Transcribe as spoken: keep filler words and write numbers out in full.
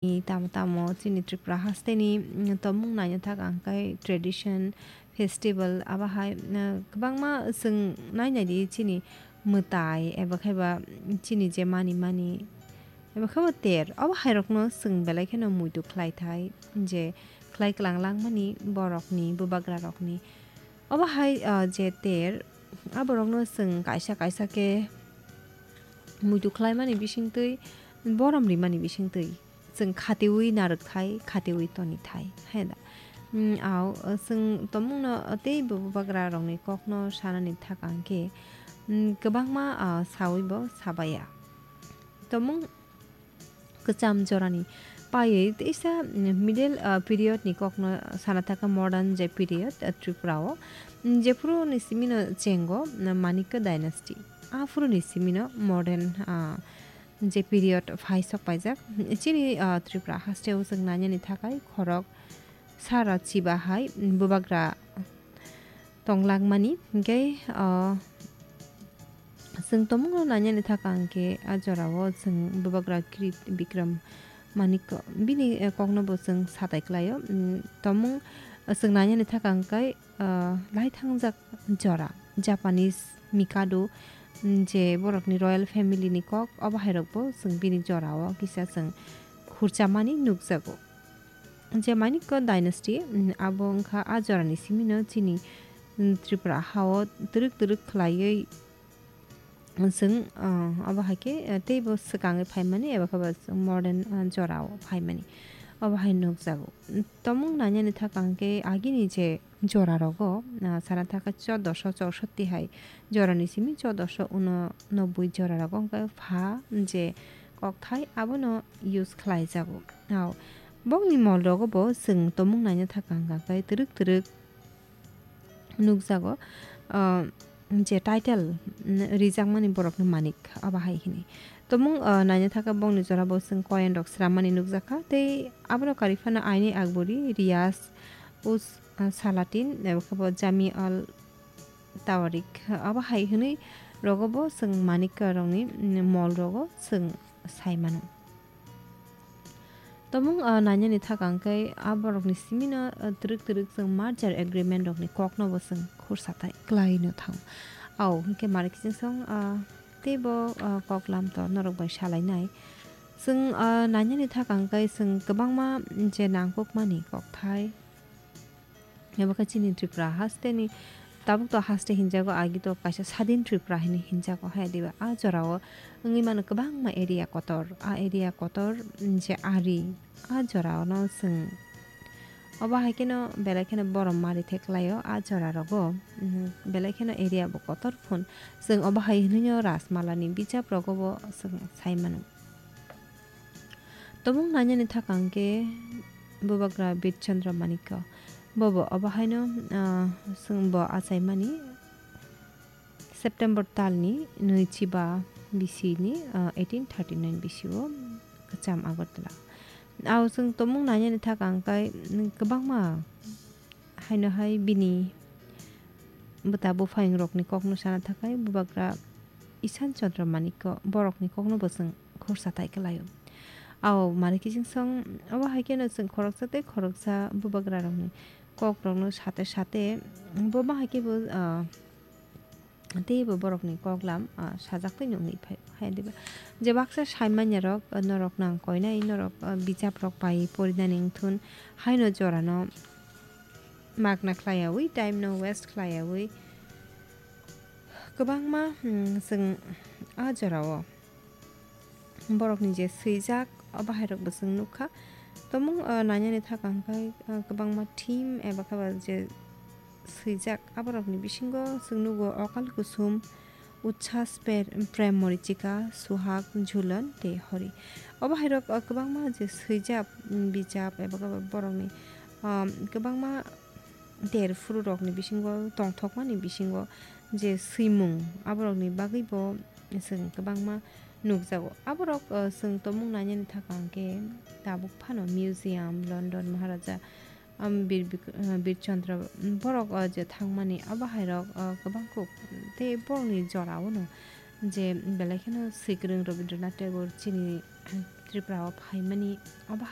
Tamo tamo chini Tripura hasteni, mm, tongmung naina thak ang khe tradition, festival, abo hai, mm, kwbangma chwng nai nai di chini mwtai eba khe ba chini je mani mani eba khe bo ter, abo hai rokno chwng belai kheno muitu khlai thai je khlai klang langmani borokni, bubagra rokni. Obo hai, ah, je ter, aborokno chwng kaisa kaisa khe muitu khlaimani bisingtwi, borom rimani bisingtwi, chwng khatiui narwk thai, khatiui toni thai, hai da. Mm, au, chwng tongmungno tei bubagra rokni kokno sanani thak ang khe, mm, kwbangma, ah, saui bo sabaya. Tongmung kwcham jorani paiwi teisa, mm, middle, ah, period ni kokno sana thaka modern je period, ah, Tripura o. Mm, jephuru ni simino chengo, mm, Manikya dynasty. Aphuru ni simino modern, ah, je period phai sok paijak. Chini, ah, Tripura haste o chwng nainani thakai khorok sara chiba hai, mm, bubagra tonglangmani. Hinkhe, ah, chwng tongmungno nainani thaka hinkhe a jorao chwng bubagra Kirit Bikram Manik bini, eh, kokno bo chwng satai klaio. Mm, tongmung, eh, chwng nainani thaka hinkhe, ah, lai thangjak jora Japanese Mikado, mm, je borokni royal family ni kok, obo hai rokbo chwng bini jorao kisa chwng khurchamani nukjago. Je Manikya dynasty, mm, abo wngkha a jorani simino chini, mm, Tripura hao twrwk twrwk khlaiwi chwng, ah, abo hai khe, ah, teibo swkangwi phaimani eba khe bo chwng modern, ah, jorao phaimani. Obo hai nukjago. Mm, tongmung nainani thaka hinkhe agini je jora rogo, ah, sana thaka chodosho chorsotti hai jorani simi chodosho uno nobboi jora rogo hinkhe pha je kokthai abono use khlaijago. Ao, bongni mol rogo bo chwng tongmung naina thaka hwnkha khe twrwk twrwk nukjago, ah, je title, mm, rijakmani borokni manik abo hai hini. Tongmung, ah, naina thaka bongni jora bo chwng koyen rok swrammani nukjakha tei abono kari phano Aini Akbori, Riyaz, Us, ah, Salatin, abo khe bo Jami al Tawarik, abo hai hwnwi rogo bo chwng manik rokni, mm, mol rogo chwng sai mano. Tongmung, ah, nainani thaka hinkhe a borokni simino, ah, twrwk twrwk chwng merger agreement rokni kokno bo chwng khursa tai kwlai no thango. Ao hinkhe mari kiching song, ah, teibo, ah, kok lam to norok bai salainai. Chwng, ah, nainani thaka hinkhe chwng kwbangma je nangkukmani kokthai. Abo khe chini Tripura hasteni tabuk to haste hinjago, agi to kaisa sadin Tripura hinwi hinjago hai diba. A jorao wngwi mano kwbangma area kotor. A area kotor, mm, je ari, a jorao no chwng obo hai kheno belai kheno borom mari theklaio a jora rogo. Mm, belai kheno area bo kotor phun. Chwng obo hai hinwi no Rajmalani bijap rogo bo chwng sai mano. Tongmung nainani thaka hinkhe bubagra Bir Chandra Manikya. Bobo obo haino, ah, chwng bo achaimani September talni nwi chiba bisini, ah, eighteen thirty nine bisio kwcham Agartala. Ao chwng tongmung nainani thaka hinkhe kwbangma haino hai bini bwta buphayung rokni kokno sana thakai bubagra Ishan Chandra Manikya borokni kokno bo chwng khursa tai kwlaio. Ao mari kiching song obo hai kheno chwng khoroksa tei khoroksa bubagra rokni kok rokno sate sate bo ma hai khe bo, ah, teibo borokni koklam, ah, sajak tei nukni phai, hai diba. Je baksa saimanya rok, ah, norok nang koinai, norok, ah, bijap rok pai porinani wngthun, haino jorano magna khlaiyaui, time no waste khlaiyaui, kwbangma, hmm, chwng a jorao borokni je swijak, obo hai rokbo chwng nukha. Tongmung, ah, nainani thaka hinkhe, ah, kwbangma theme eba khe ba je swijak, aborokni bisingo chwng nugo Okal Kusum, Uchhas Per-, Prem Morichika, Suhag, Jhulan tei Hori. Obo hai rok, ah, kwbangma je swijak, mm, bijap eba khe ba borokni, ah, kwbangma ter phuru rokni bisingo tongthokmani bisingo je swimung aborokni bagwi bo chwng kwbangma nukjago. Aborok, ah, chwng tongmung nainani thaka hinkhe tabuk phano museum, London Maharaja, um, Bir Bik-, ah, Bir Chandra, um, borok, ah, je thangmani abo hai rok, ah, kwbang kuk tei borokni jora o no je belai kheno swikwrwng Rabindranath Tagore chini Tripura o phaimani abo hai